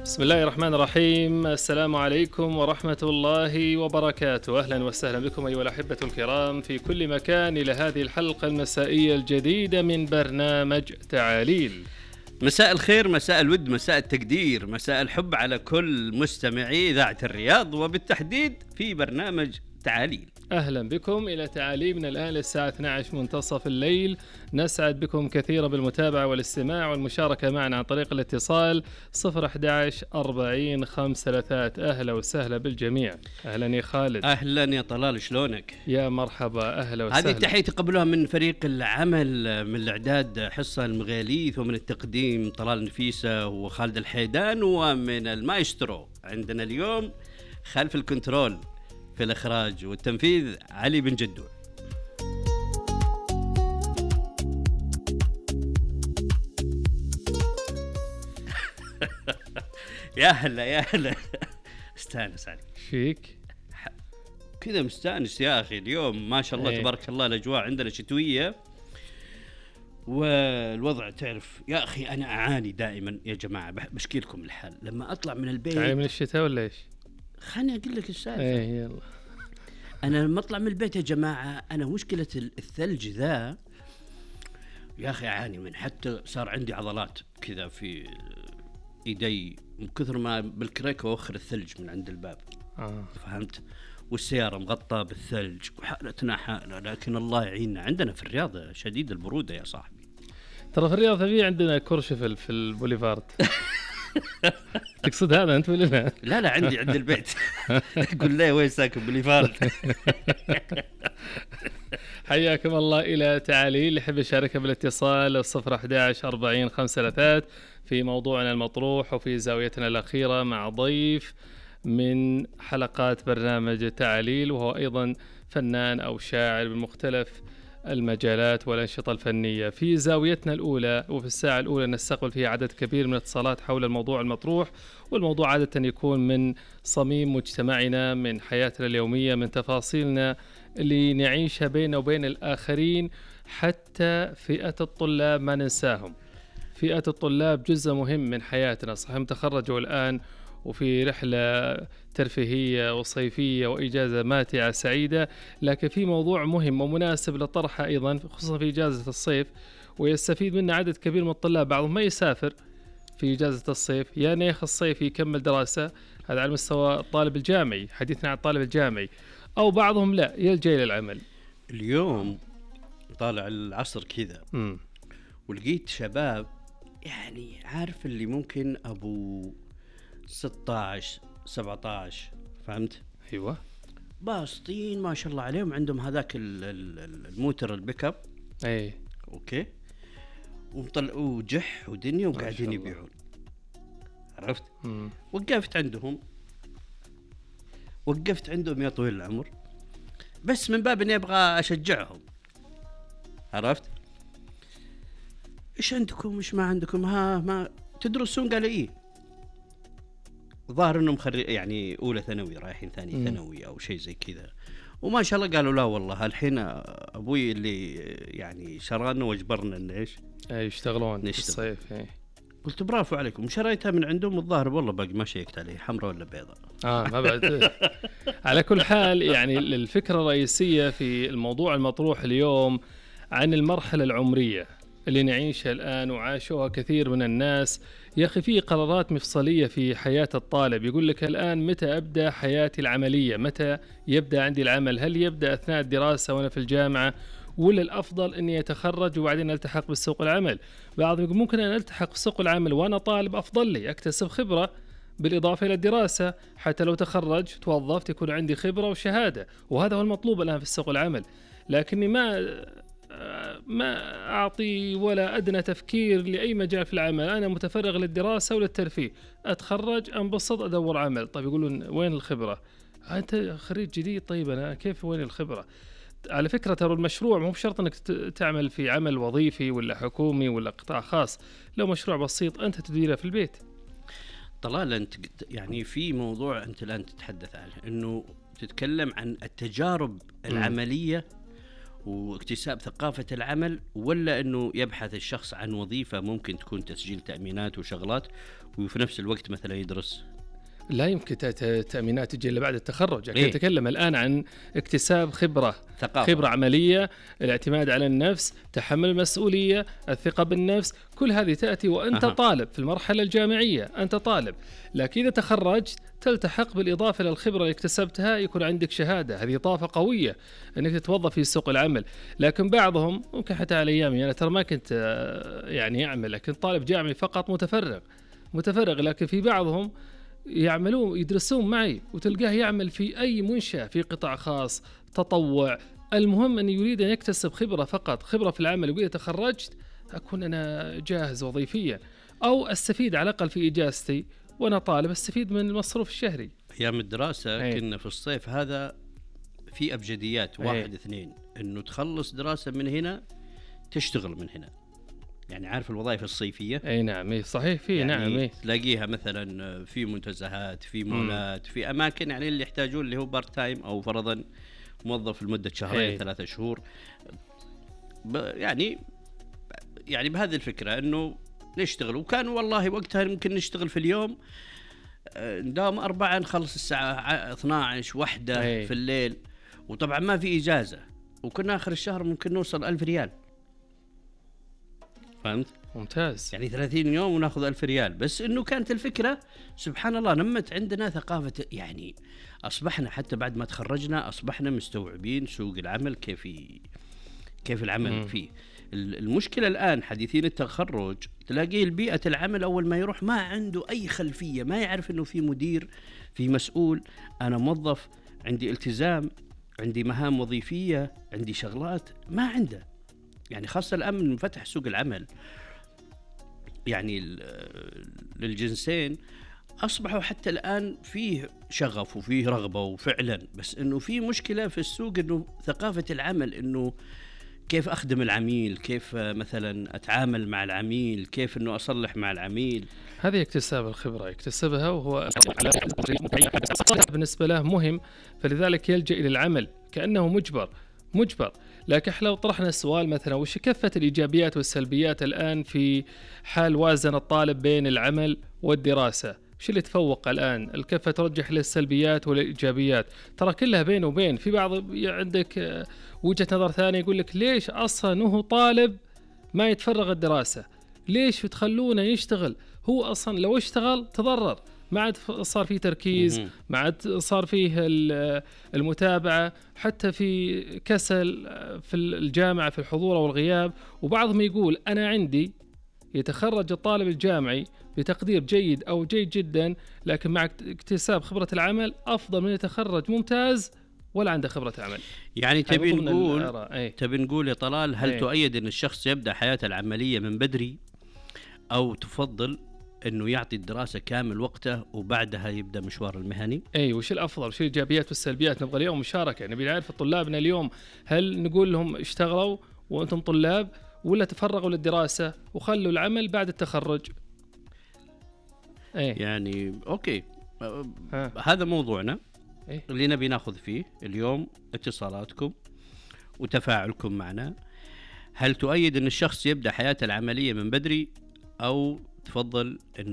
بسم الله الرحمن الرحيم. السلام عليكم ورحمة الله وبركاته. أهلا وسهلا بكم أيها الأحبة الكرام في كل مكان إلى هذه الحلقة المسائية الجديدة من برنامج تعاليل. مساء الخير، مساء الود، مساء التقدير، مساء الحب على كل مستمعي إذاعة الرياض، وبالتحديد في برنامج تعاليل. أهلا بكم إلى تعاليل من الآن للساعة 12 منتصف الليل. نسعد بكم كثيرا بالمتابعة والاستماع والمشاركة معنا عن طريق الاتصال 011 40 533. أهلا وسهلا بالجميع. أهلا يا خالد. أهلا يا طلال، شلونك؟ يا مرحبا، أهلا وسهلا. هذه تحية قبلها من فريق العمل، من الإعداد حصة المغاليث، ومن التقديم طلال نفيسة وخالد الحيدان، ومن المايسترو عندنا اليوم خلف الكنترول في الإخراج والتنفيذ علي بن جدو. يا هلا يا هلا، استانس عليك. فيك كذا مستانس يا أخي اليوم، ما شاء الله تبارك الله. الأجواء عندنا شتوية والوضع تعرف يا أخي. أنا أعاني دائما يا جماعة، بشكي لكم الحال لما أطلع من البيت. تعاني من الشتاء ولا إيش؟ خلني أقول لك السالفة. يلا. أنا لما أطلع من البيت يا جماعة، أنا مشكلة الثلج ذا يا أخي أعاني من، حتى صار عندي عضلات كذا في إيدي من كثر ما بالكريك وأخر الثلج من عند الباب. فهمت؟ والسيارة مغطى بالثلج وحالتنا حالة، لكن الله يعيننا. عندنا في الرياض شديد البرودة يا صاحبي. ترى في الرياض في عندنا كورشفل في البوليفارد. تقصد هذا أنت ولا لا؟ لا عندي عند البيت. قل لي وين ساكن بوليفارد. حياكم الله إلى تعاليل. اللي يحب يشارك بالاتصال 011 40 533 في موضوعنا المطروح وفي زاويتنا الأخيرة مع ضيف من حلقات برنامج تعاليل، وهو أيضا فنان أو شاعر بمختلف المجالات والأنشطة الفنية. في زاويتنا الأولى وفي الساعة الأولى نستقبل فيها عدد كبير من الاتصالات حول الموضوع المطروح، والموضوع عادة يكون من صميم مجتمعنا، من حياتنا اليومية، من تفاصيلنا اللي نعيشها بيننا وبين الآخرين. حتى فئة الطلاب ما ننساهم. فئة الطلاب جزء مهم من حياتنا. صحيح تخرجوا الآن وفي رحلة ترفيهية وصيفية وإجازة ماتعة سعيدة، لكن في موضوع مهم ومناسب لطرحه أيضا، خصوصا في إجازة الصيف، ويستفيد منه عدد كبير من الطلاب. بعضهم ما يسافر في إجازة الصيف، يا نيخ الصيف يكمل دراسة، هذا على مستوى الطالب الجامعي، حديثنا عن الطالب الجامعي، أو بعضهم لا يلجأ إلى العمل. اليوم طالع العصر كذا ولقيت شباب، يعني عارف اللي ممكن أبو 16 17، فهمت؟ أيوة، باسطين ما شاء الله عليهم، عندهم هذاك الموتر البيك اب. اوكي، وطلعوا جح ودنيا وقاعدين يبيعون. عرفت؟ وقفت عندهم يا طويل العمر، بس من باب اني ابغى اشجعهم. عرفت؟ ايش عندكم ايش ما عندكم؟ ما تدرسون؟ قال ايه، ظاهر انهم يعني اولى ثانوي رايحين ثاني ثانوي او شيء زي كذا. وما شاء الله قالوا لا والله الحين ابوي اللي يعني شرانا واجبرنا ان ايش يشتغلون في الصيف. قلت برافو عليكم. شريتها من عندهم، الظاهر والله باقي ما شيكت عليه حمراء ولا بيضاء. ما بعد. على كل حال يعني الفكرة الرئيسية في الموضوع المطروح اليوم عن المرحلة العمرية اللي نعيشها الآن وعاشوها كثير من الناس. يا أخي في قرارات مفصلية في حياة الطالب. يقول لك الآن متى أبدأ حياتي العملية، متى يبدأ عندي العمل، هل يبدأ أثناء الدراسة وأنا في الجامعة، ولا الأفضل أني أتخرج وبعدين ألتحق بالسوق العمل؟ بعضهم يقول ممكن أن ألتحق بسوق العمل وأنا طالب، أفضل لي أكتسب خبرة بالإضافة إلى الدراسة، حتى لو تخرج توظفت يكون عندي خبرة وشهادة، وهذا هو المطلوب الآن في السوق العمل. لكني ما أعطي ولا أدنى تفكير لأي مجال في العمل، أنا متفرغ للدراسة وللترفيه، أتخرج أنبسط أدور عمل. طيب يقولون وين الخبرة؟ أنت خريج جديد، طيب أنا كيف وين الخبرة؟ على فكرة ترى المشروع مو بشرط أنك تعمل في عمل وظيفي ولا حكومي ولا قطاع خاص، لو مشروع بسيط أنت تديره في البيت. طلال أنت يعني في موضوع أنت الآن تتحدث عنه، أنه تتكلم عن التجارب العملية واكتساب ثقافة العمل، ولا أنه يبحث الشخص عن وظيفة ممكن تكون تسجيل تأمينات وشغلات وفي نفس الوقت مثلا يدرس؟ لا يمكن تأمينات تجي إلا بعد التخرج. إيه؟ نتكلم الآن عن اكتساب ثقافة. خبرة عملية، الاعتماد على النفس، تحمل المسؤولية، الثقة بالنفس، كل هذه تأتي وأنت طالب في المرحلة الجامعية، أنت طالب. لكن إذا تخرجت تلتحق بالإضافة للخبرة اللي اكتسبتها، يكون عندك شهادة، هذه إضافة قوية أنك تتوظف في سوق العمل. لكن بعضهم ممكن حتى على أيامي أنا ترى ما كنت يعني أعمل، لكن طالب جامعي فقط متفرغ، لكن في بعضهم يعملون يدرسون معي وتلقاه يعمل في أي منشأة في قطاع خاص تطوع. المهم أن يريد أن يكتسب خبرة فقط، خبرة في العمل، وإذا تخرجت أكون أنا جاهز وظيفيا، أو أستفيد على الأقل في إجازتي وأنا طالب أستفيد من المصروف الشهري. أيام الدراسة كنا في الصيف هذا في أبجديات 1 2 إنه تخلص دراسة من هنا تشتغل من هنا، يعني عارف الوظائف الصيفية. أي نعم صحيح، في يعني نعم تلاقيها مثلا في منتزهات، في مولات، في أماكن يعني اللي يحتاجون اللي هو بارت تايم أو فرضا موظف لمدة شهرين 3 شهور. يعني بهذه الفكرة إنه نشتغل. وكان والله وقتها ممكن نشتغل في اليوم نداوم 4 نخلص الساعة 12 1 في الليل، وطبعا ما في إجازة، وكنا آخر الشهر ممكن نوصل 1000 ريال. فهمت؟ ممتاز. يعني 30 يوم وناخذ 1000 ريال. بس إنه كانت الفكرة سبحان الله نمت عندنا ثقافة، يعني أصبحنا حتى بعد ما تخرجنا أصبحنا مستوعبين سوق العمل كيف العمل فيه. المشكلة الآن حديثين التخرج تلاقيه البيئة العمل أول ما يروح ما عنده أي خلفية، ما يعرف إنه في مدير، في مسؤول، أنا موظف، عندي التزام، عندي مهام وظيفية، عندي شغلات، ما عنده. يعني خاصة الآن من فتح سوق العمل يعني للجنسين أصبحوا حتى الآن فيه شغف وفيه رغبة وفعلا، بس إنه في مشكلة في السوق إنه ثقافة العمل، إنه كيف أخدم العميل، كيف مثلا أتعامل مع العميل، كيف إنه أصلح مع العميل. هذه اكتساب الخبرة يكتسبها وهو بالنسبة له مهم، فلذلك يلجأ إلى العمل كأنه مجبر. لكن لو طرحنا السؤال مثلا وش كفة الإيجابيات والسلبيات الآن في حال وازن الطالب بين العمل والدراسة، وش اللي تفوق الآن؟ الكفة ترجح للسلبيات والإيجابيات؟ ترى كلها بين وبين. في بعض عندك وجهة نظر ثانية يقول لك ليش أصلا هو طالب ما يتفرغ الدراسة؟ ليش تخلونه يشتغل؟ هو أصلا لو اشتغل تضرر، ما عاد صار فيه تركيز، ما عاد صار فيه المتابعة، حتى في كسل في الجامعة في الحضور والغياب. وبعضهم يقول أنا عندي يتخرج الطالب الجامعي بتقدير جيد أو جيد جدا، لكن مع اكتساب خبرة العمل أفضل من يتخرج ممتاز ولا عنده خبرة عمل. يعني تبي نقول يا طلال، هل تؤيد أن الشخص يبدأ حياته العملية من بدري، أو تفضل أنه يعطي الدراسة كامل وقته وبعدها يبدأ مشوار المهني؟ وش الأفضل، وش الإيجابيات والسلبيات؟ نبغى اليوم مشاركة، نبي نعرف طلابنا اليوم هل نقول لهم اشتغلوا وأنتم طلاب، ولا تفرغوا للدراسة وخلوا العمل بعد التخرج؟ يعني أوكي، هذا موضوعنا اللي نبي ناخذ فيه اليوم. اتصالاتكم وتفاعلكم معنا. هل تؤيد أن الشخص يبدأ حياته العملية من بدري، أو تفضل أنه